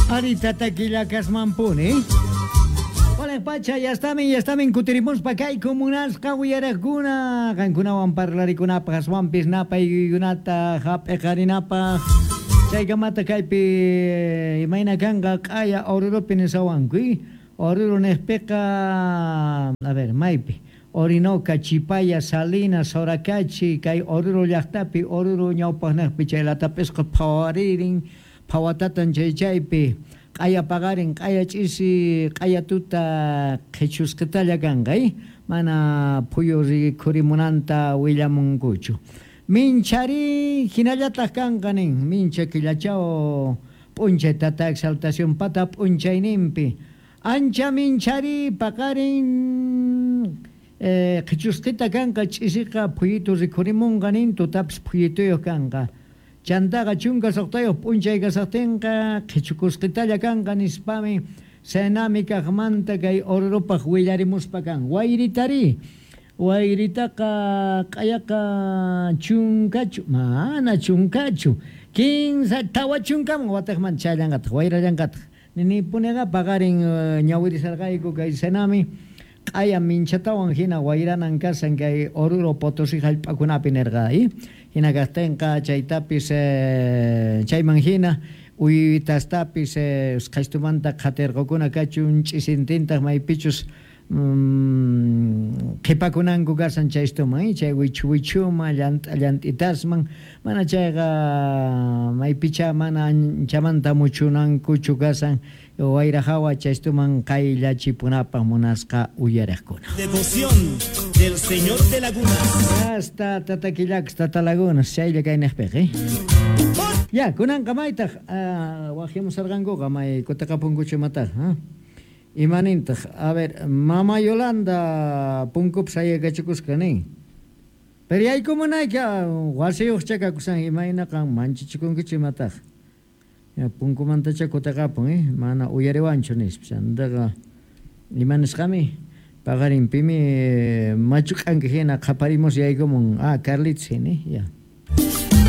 Ari tata killakasmanpuni. Wala pacha, ya estamin kutirimuspa kay munasqa uyaraqkuna qankunawan parlarikunapaq aswanpis napaykunata hap'iqarinapaq chaykamata kaypi imayna kanqa q'aya Oruropi nisawanku Oruro niqpiqa a ver maypi Orinoca, Chipaya, Salinas, Soracachi kay Oruro llaqtapi Oruro ñawpaqniqpi chay latapisqa phawaririn phawatatan chay chaypi q'aya paqarin q'aya ch'isi q'aya tuta qhichusqitalla kanqa mana phuyu rikhurimunanta willamunkuchu minchari hinallataq kanqa nin mincha killachaw p'unchay tata exaltación pata p'unchayninpi ancha minchari paqarin qhichusqita kanqa ch'isiqa phuyitu rikhurimunqa nin tutapis phuyituyuq kanqa chantaqa chunka suqtayuq p'unchay kasaqtinqa qhichukusqitalla kanqa nispami Senami kaqmanta kay Orurupaq willarimuspa kan wayritari wayritaqa q'ayaqa chunkachu mana chunkachu kinsa tawa chunkaman wataqmanta chayllanqataq wayrallanqataq ninipuniqa paqarin ñawirisarqayku kay Senami q'aya minchatawan hina wayranan kasan kay Oruro Potosí hallp'akunapi nirqa hina kaqtinqa chaytapis chayman hina uywitastapis usqhaytumanta qhatirqukuna kachun ch'isintintaq maypichus qhipakunanku kasan chaystuman chay wichu wichuman llant'a llant'itasman mana chayqa maypicha mana anchamanta muchunankuchu kasan wayra hawa chaystuman qayllachipunapaq munasqa uyariqkuna. Devoción del Señor de Lagunas. Hasta tata killaks tata Lagunas chaylla kayniqpiq Ya, kunanqa maytaq wahimusarqankuqa may kutaqapunkuchu imataq imanintaq a ver mama Yolanda punkupi sayaykachikusqa nin pero yaykumunayki wasiyuqcha kakusan imayna qan manchachikunkichu imataq ya punkumantacha kutaqapun mana uyariwanchu nispa chantaqa ima nisqami paqarinpimi machu k'anka hina qhaparimus yaykumun Carlitos hina ya.